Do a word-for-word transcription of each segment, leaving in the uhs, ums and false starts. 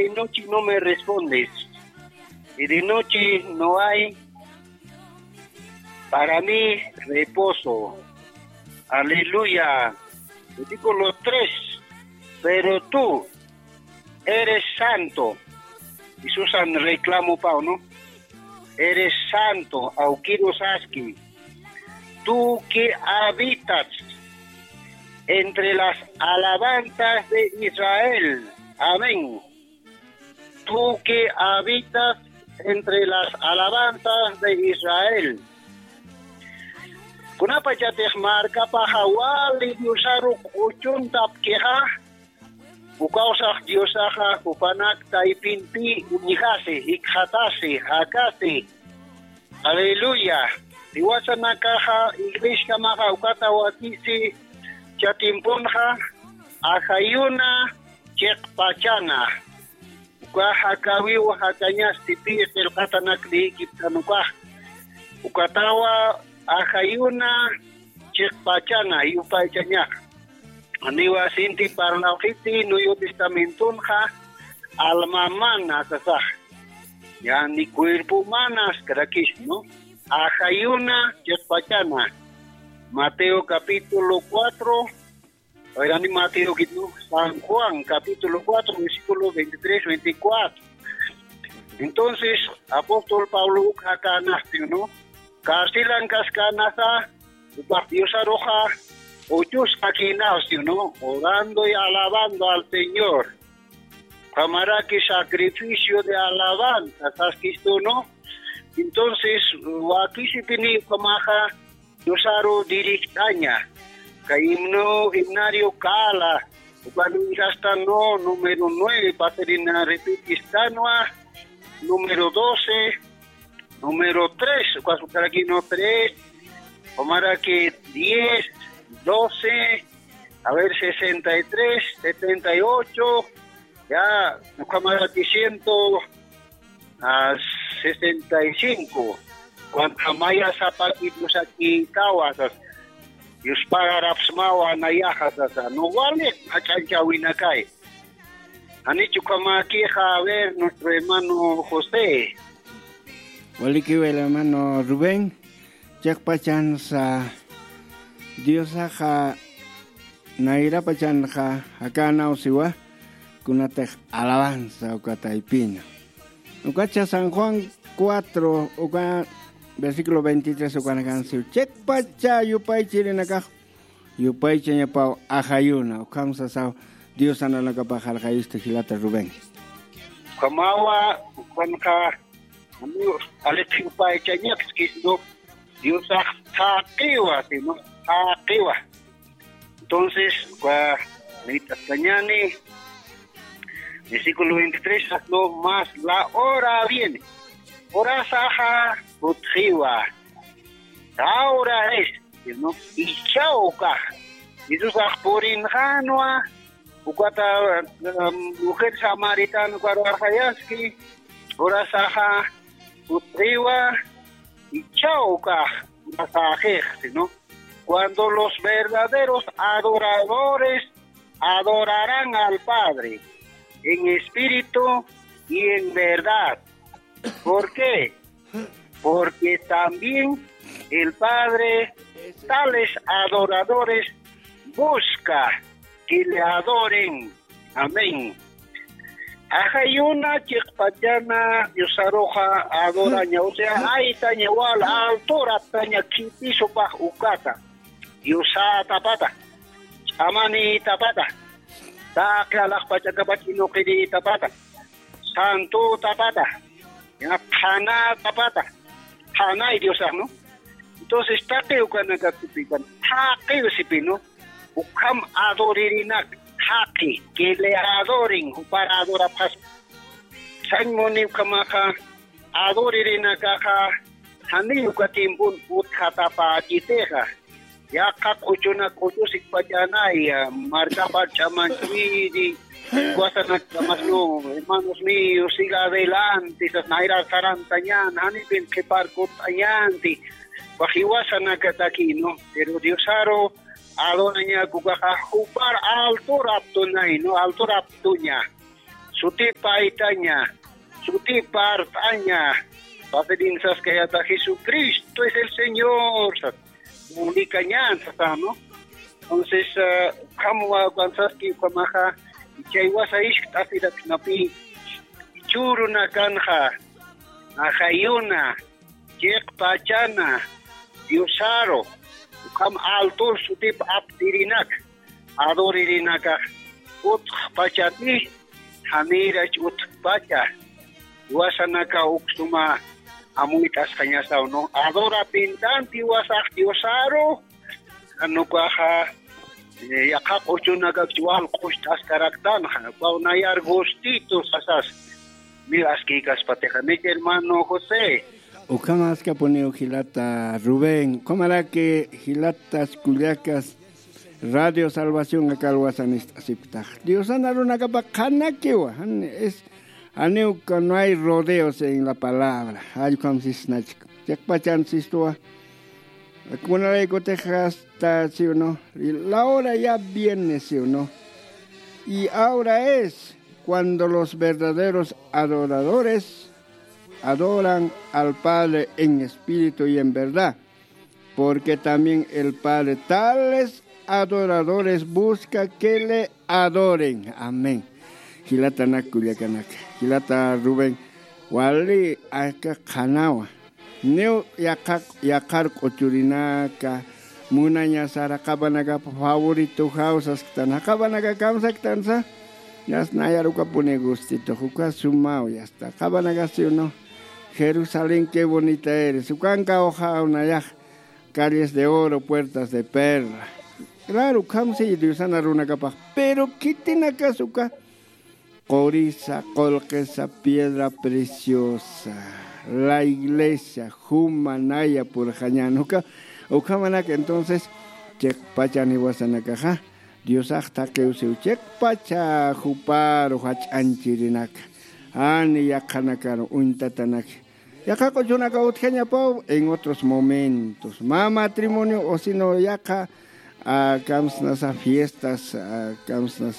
de noche no me respondes, y de noche no hay para mí reposo. Aleluya. Versículo tres. Pero tú eres santo. Jesús reclamó, Pablo, ¿no? Eres santo, awkiru saski. Tú que habitas entre las alabanzas de Israel. Amén. Tú que habitas entre las alabanzas de Israel. Kunapachatix markapaxa wali Diosaru k'uchuntapkixa, ukawsax Diosaxa jupanak taypinpi uñjasi, jikxatasi, jakasi. Aleluya. Jiwasanakaxa iglesiakamaxa ukata wakisi chatimpunxa, ajayuna chiqpachana. Uka jakawiw jakañasti pi qillqatanak liyikiptan ukax. Ukatawa ajayuna chiqpachana yupaychañax. Aniwa sinti parlawxiti Nuevo Testamentonxa alma mana sasax. Ya ni cuerpo mana askrakis, ¿no? Ajayuna chiqpachana. Mateo capítulo cuatro, Ayrani Mateo, ¿no? San Juan, capítulo cuatro, versículo veintitrés, veinticuatro. Entonces, apóstol Pablo uka kanasti, ¿no? Carcelan kaskanasa, upax Diosaruxa, uchus kakinasti, ¿no? Orando y alabando al Señor. Ukhamaraki sacrificio de alabanza, saskistu, ¿no? Entonces, wakisipini ukhamaxa, Diosaru directaña. Kay himno, himnario kala, uka nunchasta no, número nueve, pasarina repetistanwa, número doce, número tres, uka sutaraki no tres, umaraki diez, doce, a ver, sesenta y tres, setenta y ocho, ya, ukamaraki ciento, a sesenta y cinco. Cuando maya sapaki Diosaki kawa sasa. Dios pagarapsmawa nayaxa sasa. No wali ach'anchawinakay. Janichu ukhamakixa, a ver, nuestro hermano José. Walikiw el hermano Rubén, chiqpachansa Diosaxa nayrapachanxa jakänawsiwa, kunatix alabanza uka taypina. Ukacha San Juan cuatro, uka versículo veintitrés ukanakansiw. Chiqpacha yupaychirinakax, yupaychañapaw ajayuna, ukham sasaw Dios nanakapax jarxayistu jilata Rubén. Ukhamawa, ukhanxa, amigo, alix yupaychañakskis, ¿no? Diosax thaqiwa, sino thaqiwa. Entonces, uka nayt'askañäni, versículo veintitrés, no más la hora viene. Horasaxa jutxiwa. Ahora es, sino ichhaw ukax. Jesusax purinxänwa, ukata, um, mujer samaritana ukaru arxayaski, horasaxa jutxiwa, ichhaw ukax, horasaxix, sino cuando los verdaderos adoradores adorarán al Padre en espíritu y en verdad. ¿Por qué? Porque también el Padre tales adoradores busca que le adoren. Amén. Ajayuna chiqpachana Diosaruxa adoraña, o sea, aytaña wal alturaptaña khitisupax ukata. Diosatapata, ch'amanitapata, taqi alaxpachakapach inuqiritapata, santutapata, qhanatapata, qhanay Diosax, ¿no? Entonces, taqi ukanakatupï, taqi sipï, ¿no? Ukham adoririnak, taqi, que le adoren, jupar adorapxaspa. Sañ muni ukhamaxa, adoririnakaxa, janiy uka tiempon utjatapächitixa. Yaqha q'uchunak q'uchus ikpachänay, markapar ch'amanchiri, wasanak ch'amasnu, hermanos míos, siga adelante, sas nayra sarantañän, janipin qhiparkutañänti, ukax jiwasanakataki, ¿no? Pero Diosaru adorañak ukaxa jupar alturaptunay, ¿no? Alturaptuña. sutipa aytaña, sutipa art'aña, pasirïn saskayata, Jesucristo es el Señor, sat, mulikañan sata, ¿no? Entonces, ah, ukham wawakan saski ukhamaxa, chaywa sayiskt'asiraknapi, jichhürunakanxa, ajayuna, chiqpachana, Diosaru, ukham altur sutip aptirinak, adoririnakax, utjpachati, janirach utjpacha, jiwasanaka uk suma amuyt'asxañasaw, ¿no? Adorapintanti jiwasax Diosaru, jan ukaxa, eh, yaqha q'uchunakakch wal q'ucht'askaraktanxa, ukaw nayar gustito sasas, niw askïkaspatixa, ¿no, hermano José? Ukhamaskapuniw jilata Rubén, ukhamaraki jilatas kullakas Radio Salvación aka alwasan ist'asipktax. Diosan arunakapa qhanakiwa, jan es, janiw uka no hay rodeos en la palabra. Jall ukham sisnachk. Chiqpachan sistuwa. Kunaraykutix hasta, ¿sí o no? Y la hora ya viene, ¿sí o no? Y ahora es cuando los verdaderos adoradores adoran al Padre en espíritu y en verdad, porque también el Padre tales adoradores busca que le adoren. Amén. Jilatanak kullakanaka, jilata Rubén, wali aka qhanawa. Niw yaqha, yaqhar q'uchurinaka, munañasara qhapanakapa favoritojaw sasktan, qhapanaka kamsaktansa, yasta nayar ukapuni gustitux, uka sumaw yasta, qhapanaka, ¿sí o no? Jerusalén, qué bonita eres, ukankaw jaw nayax, calles de oro, puertas de perla. Claro, ukham si Diosan arunakapax, pero khitinakas uka qurisa, qullqisa, piedra preciosa, la iglesia, juma, naya purxañän, uka, ukhamanak entonces, chiqpachan jiwasanakaxa, Diosax thaqiw siw chiqpacha juparu jach'añchirinaka, jani yaqhanakaru uñtatanak, yaqha q'uchunaka utjañapaw en otros momentos. Mä matrimonio o sino yaqha, ah, kamsnasa fiestas, ah, kamsnas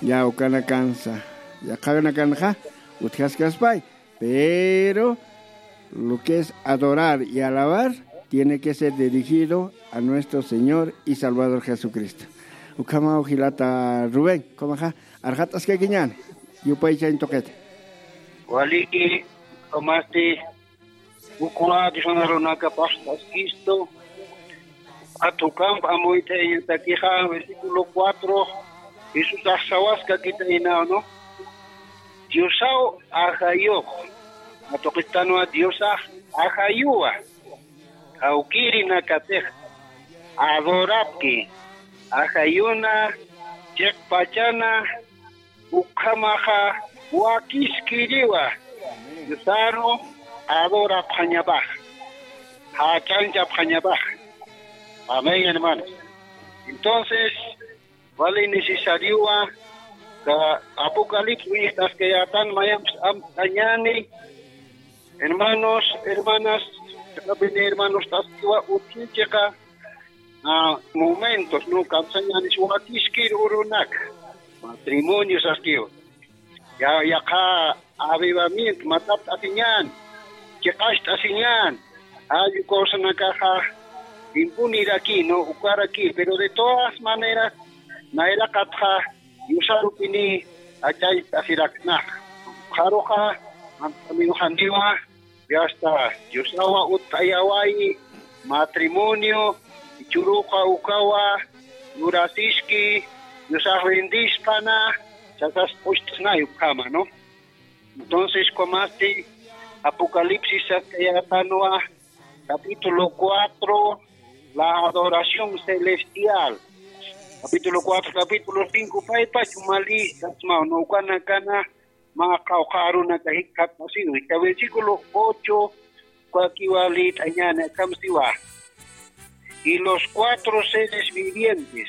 ya ukanakansa, yaqhanakanxa utjaskaspay. Pero lo que es adorar y alabar tiene que ser dirigido a nuestro Señor y Salvador Jesucristo. Ukhamaw jilata Rubén, ukhamaxa, arxat'askakiñäni, yupaychañ tuqita. Waliki, ukhamasti, ukwa Diosan arunakapax t'askistu, ukat ukamp amuyt'ayañatakixa, versículo cuatro, Jesús sawaskakitaynaw, ¿no? Diosaw ajayux, atuqistanwa Diosax ajayuwa, jawkïrinakatix adorapki, ajayuna, chiqpachana, ukhamaxa wakiskiriwa, Diosaru adorapxañapax, jach'añchapxañapax. Amén, hermanos. Entonces, wali necesariowa, ka Apocalipsis uñjt'askayätan, mayampis amtañäni, hermanos, hermanas, chiqapini hermanos t'askiwa, utji chiqa, ah, momentos, ¿no? Kamsañänis wakiskir urunak, matrimonio saskiwa. Ya, yaqha avivamiento, matapt'asiñän, chiqacht'asiñän, jall uka usanakaxa, impuniraki, ¿no? Ukaraki, pero de todas maneras, nayraqatxa, Diosarupini, ach'añt'asiraknax. Ukxaruxa, amt'aniw janiwa, ya está, Diosawa utt'ayawayi, matrimonio, jichhüruxa ukawa, lurasiski, Diosax bendispana, sasas p'ucht'snay ukhama, ¿no? Entonces, ukhamasti Apocalipsis saskayätanwa, capítulo cuatro, la adoración celestial. Capítulo cuatro, capítulo cinco, paypach umalïstasmaw, ¿no? Ukanakana, mä qawqha arunaka jikxatasiw. Esta versículo ocho, ukakiwa lït'añäni, akham siwa. Y los cuatro seres vivientes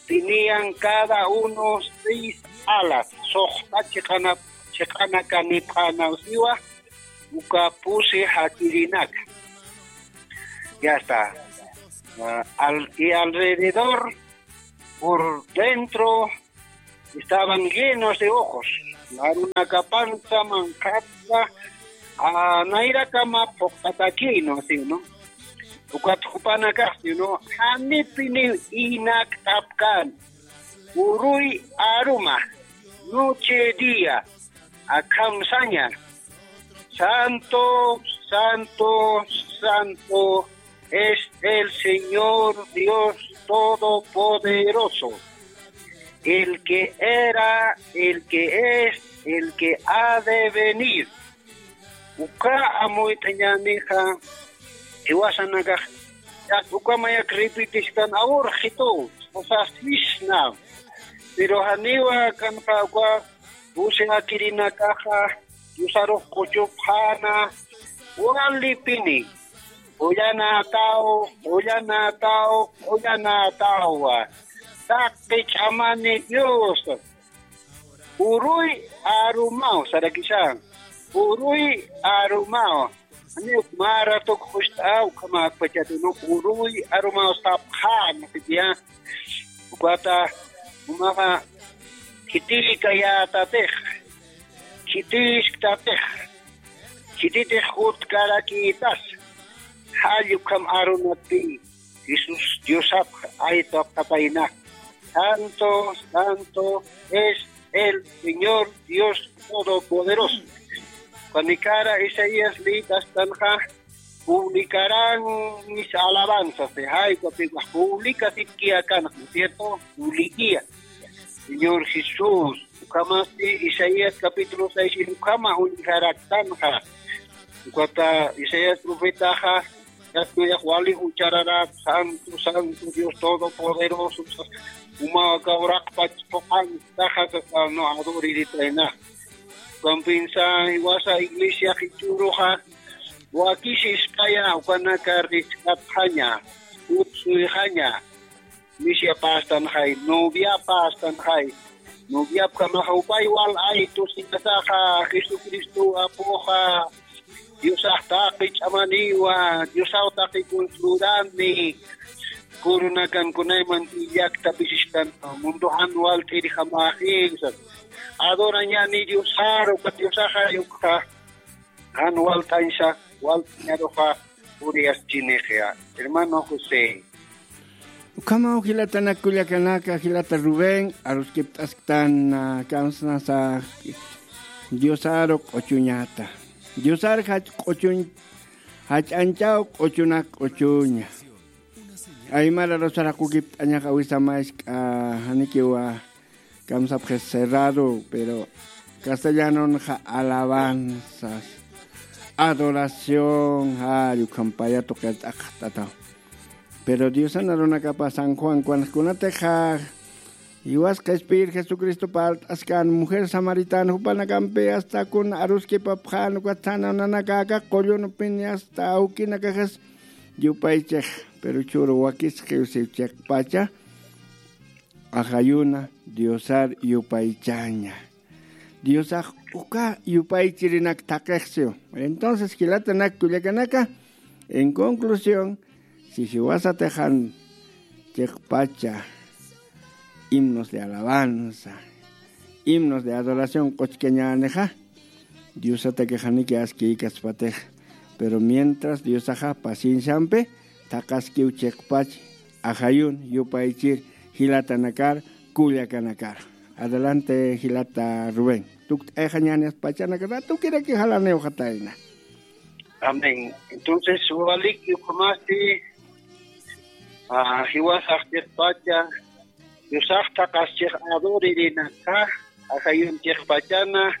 tenían cada uno seis alas, suxta chiqana, chiqanakanipxänaw siwa, uka pusi jakirinak. Ya está. Ah, al, y alrededor, por dentro, estaban llenos de ojos. Arunakapansa manqhatsa, a, nayrakama phuqtatakïnu, sino. Ukat jupanakax, sino, janipiniw inakt'apkän. Uruy aruma, noche día, akham saña. Santo, santo, santo es el Señor Dios Todopoderoso, el que era, el que es, el que ha de venir. Uka amuyt'añänixa, jiwasanakax, ya, uka mayak repetisktan awurxitu, usasisna. Pero janiwa kanxa uka, usi akirinakaxa, Diosarux q'uchupxäna, walipini, qullanataw, qullanataw, qullanatawa. Taqi ch'amani Dios. Uruy arumaw, sarakisa. Uruy arumaw. Ani uk mä ratuk just'aw, ukhama akpachatinu, uruy arumaw sapxäna, sitiya. Ukata, umaxa, khitikayätatix, khitisktapix, khititix jutkarakïtas, jall ukham arunatpï, Jesús Diosapx aytapxatayna. Santo, santo es el Señor Dios Todopoderoso. Jupanikara Isaías liyt'astanxa, publicarán mis alabanzas, de jaykapiwa, publicasipkiyakanxa, ¿no es cierto? Publiquia. Señor Jesús, ukhamasti Isaías capítulo seis, ukhama uñjaraktanxa. Ukata Isaías profetaxa, yatnuyaq wali uchararak, Santo, Santo, Dios Todopoderoso, uma kawraqpach phuqantaxa, no, adoriritayna. Ukampinsa, jiwasa iglesia jichhüruxa, wakisispaya, ukanaka risk'apxaña, utsuyxaña, misiapastanxay, noviapastanxay, noviapkamaxa upay wal aytu sinasaxa, Jesucristo apuxa, Diosax taqi ch'amaniwa, Diosaw taqi consultani, kurunakan kunayman illaktapis ist'an, mundo jan walt'irjamaxi, adorañani Diosaru, ukat Diosaxa, ukxa, jan walt'añsa, walt'añaruxa, puriyaschinixya, hermano José. Ukhamaw jilatanak kullakanaka, jilata Rubén, aruskipt'asktan, ah, kamsnasa Diosaru q'uchuñata. Diosar jach q'uchuñ, jach'añchaw q'uchunak q'uchuña. Aymara rusaraqukipt'añax awisamask'a, janikiwa, kamsapxi cerrado, pero castellanonxa alabanzas, adoración, jall ukham paya tuqirt'aqt'ataw. Pero Diosan arunakapa San Juan kunanakxa, jiwas qhispiyir Jesucristo parlt'askan mujer samaritana jupanakampi hasta kun aruskipapxän, ukat sanan nanaka aka qullunpini hasta awkinakaxas yupaychix, pero churu wakisqiw siw chiqpacha, ajayuna, Diosar yupaychaña. Diosax uka yupaychirinak thaqixsiw. Entonces, jilatanak kullakanaka, en conclusión, si jiwasatix jan chiqpacha, himnos de alabanza, himnos de adoración q'uchkañänixa, Diosatakix janiki askïkaspatix, pero mientras Diosaxa pacienciampi thaqaskiw chiqpach, ajayun, yupaychir, jilatanakar, kullakanakar. Adelante, jilata Rubén. Tukt'ayxañäni pachanaka, ratukiraki jalaniwxatayna. Amén. Entonces, walik ukhamasti, ah, jiwasax chiqpacha, Diosax thaqaschix adoririnaka, ajayun chiqpachana,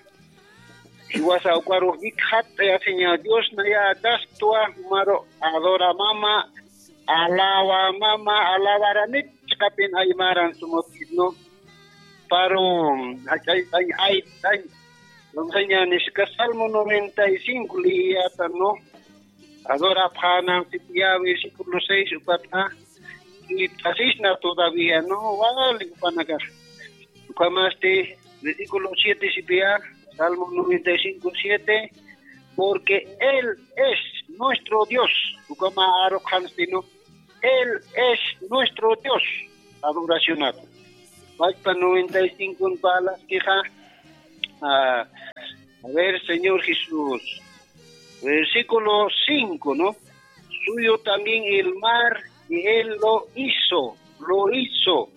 jiwasa ukarux jikxat'ayasiña Dios naya akastuwa, jumaru adoramama, alabamama, alabaranit chiqapin aymaran sumut'isnu, paru, jach'ayt'añ, ayt'añ, entonces ña niska Salmo noventa y cinco liyiyätanu, adorapxäna, sitiya versículo seis, ukatxa, y pasisna todavía, ¿no? Wali jupanakax. Ukhamasti, versículo siete, sitiya, Salmo noventa y cinco, siete, porque Él es nuestro Dios. Ukhama aruqxansti, ¿no? Él es nuestro Dios. Adoracionat. Pachpa noventa y cinco parlaskixa, A ver, Señor Jesús, versículo cinco, ¿no? Suyo también el mar, y él lo hizo, lo hizo.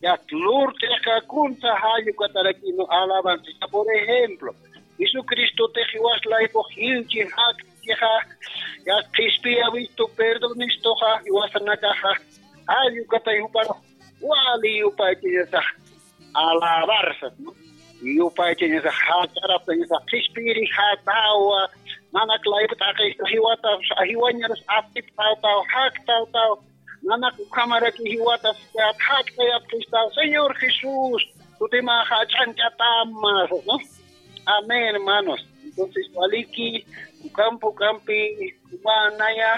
Ya, lurt'ix kunsa jall ukataraki, ¿no? Alabanza. Por ejemplo, Jesucristo te jiwas laypux jilchi jakchixa, ya, qhispiyawistu perdonistuxa, jiwasanakaxa, jall ukatay jupar wali yupaychañasax alabar sas, ¿no? Yupaychañasax jach'araptañasax qhispiri jatawa, nanak laypt'aqista jiwatas, jiwañaras atiptawtaw, jaktawtaw, nanak ukhamaraki jiwatas jaktayaptistaw, Señor Jesús, sutimaxa jach'añchatama, ¿no? Amén, hermanos. Entonces, waliki, ukampi, ukampi, umanaya,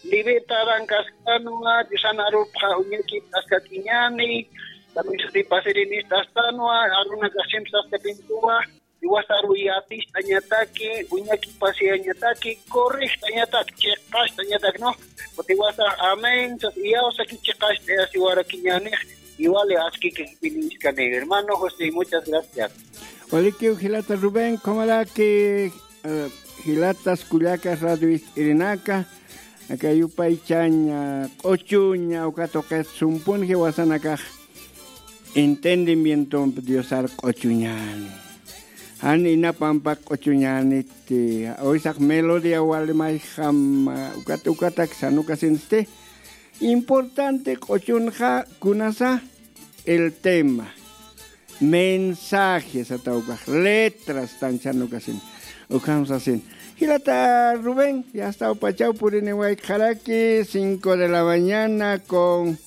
libetarankaskanwa, Diosan arupxa uñakipt'askakiñani, también sutipasirinistastanwa, arunakaxchimpi saskapintuwa, iwasaru yatist'añataki, uñakipasiyañataki, correjt'añataki, chiqast'añataki, ¿no? Kuti iwasax amén, sas iyawsaki chiqast'ayasiwarakiñanix, iwali askiki jipiniskani. Hermano José, muchas gracias. Walikiw jilata Rubén, kumaraki, eh, jilatas kullakas radio ist'irinaka, aka yupaychaña, q'uchuña, uka tuqit sumpun jiwasanakax entendimientompi Diosar q'uchuñani. Jan inapampak q'uchuñaniti, uysaq melodía wali mayjam, ukat, ukatak sanukasinsti. Importante q'uchunxa kunasa el tema. Mensajes atawkax, letras tanchanukasin. Ukham sasin. Jilata Rubén, ya está, upachaw purini wayk'araki, cinco de la mañana con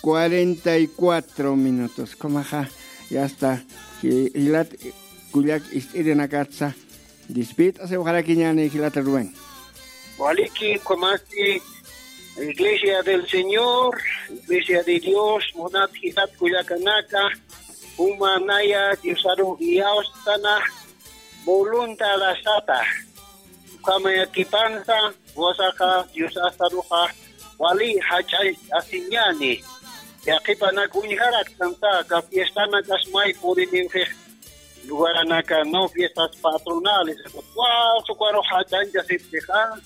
cuarenta y cuatro minutos. Kumaxa, ya está. Ji-, jilat kullak ist'irinakatsa. Dispit'asiwxarakiñani jilata Rubén. Waliki, kumasti, Iglesia del Señor, Iglesia de Dios, munat jilat kullakanaka, umanaya Diosaru iyawstana, voluntadasata. Ukhamayakipansa, wasaxa Diosasaruxa, wali jach'ay asiñani. Yaqipanak uñjaraktansa, aka fiestanakas may puriniwxix, lugaranaka, no, fiestas patronales, cual, cual, jach'añchasipxixa,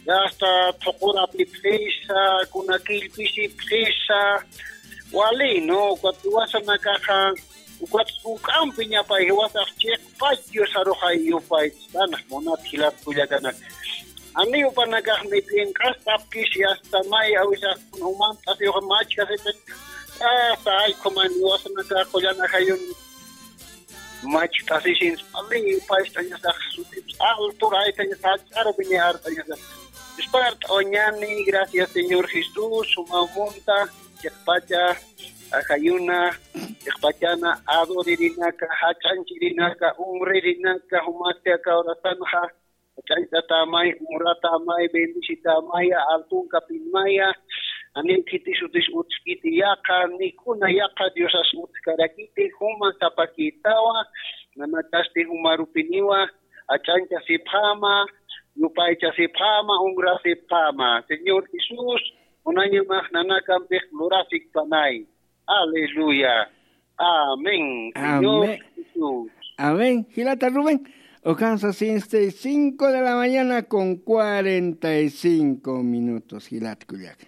ya está, thuqurapipxisa, kuna killpisipxisa, wali, ¿no? Ukat jiwasanakaxa, ukat juk'ampi ñapay jiwasax chiqpach Diosaruxa yupaychistana, munat jilat kullakanaka. Janiw jupanakax ni p'inq'astapkis, ya está, may awisax umant'asiwxa machkasipxis, ya está, ay, kuman jiwasanakax qullan ajayun machk'asisin, pali, paystañasax sutipsa, alturaytañasax, ch'arpiña artañasax. Ispart'awañani, gracias, Señor Jesús, suma munta, chiqpacha, ajayuna, chiqpachana, adoririnaka, jach'anchirinaka, umririnaka, jumasti aka horasanxa, jach'añchatamay, umratamay, bendicitamaya, altunkapinmaya, janiw khiti sutis utjkiti yaqa, ni kuna yaqa Diosas utjkarakiti, juma sapakitawa, nanakasti jumarupiniwa, jach'añchasipxama, yupaychasipxama, umrasipxama. Señor Jesús, unañamax nanakampix lurasikpanay. Aleluya. Amén. Señor Amén. Jesús. Amén. Jilata Rubén. Ukansa sesenta y cinco de la mañana con cuarenta y cinco minutos. Jilat kullak.